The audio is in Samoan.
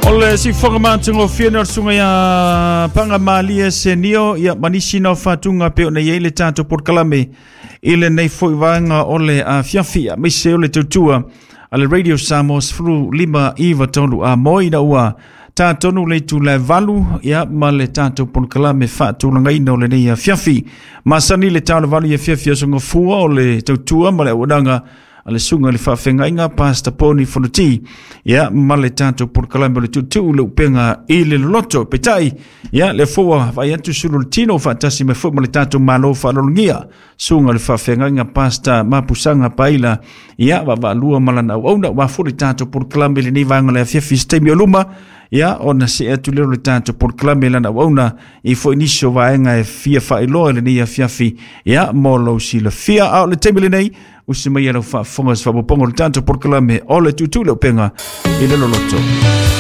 O le siufofoga matagofie o le susuga ia Pagamalie Senio, ia ma nisi na o faatuga pei ona i ai le tatou polokalame i lenei foi vaega o le afiafi, aemaise o le tautua a le Radio Samoa 15 93 a moi ina ua tatonu le itula e 8, ia ma le tatou polokalame faatulagaina o lenei afiafi. Masani le tau le 8 i afiafi aso Gafua o le tautua ma le auaunaga a le susuga i le faafeagaiga Pastor Poni Fonoti, ia ma le tatou polokalame o le tuutuu le upega i le loloto. Peitai, ia le fua vai atu sulu le tino faatasi mai foi ma le tatou malo faalologia susuga i le faafeagaiga Pastor Mapusaga Paila, ia vaavaalua ma lana auauna ua foi le tatou polokalame i lenei vaega o le afiafi. Se taimi o luma, ia ona see atu lea o le tatou polokalame lana auauna i foi nisi o vaega e fia faailoa i lenei afiafi, ia mo lou silafia. A o le taimi lenei, usi mai e lau faafofoga se faaopoopoga o le tatou polokalame o le tuutuu le upega i le loloto.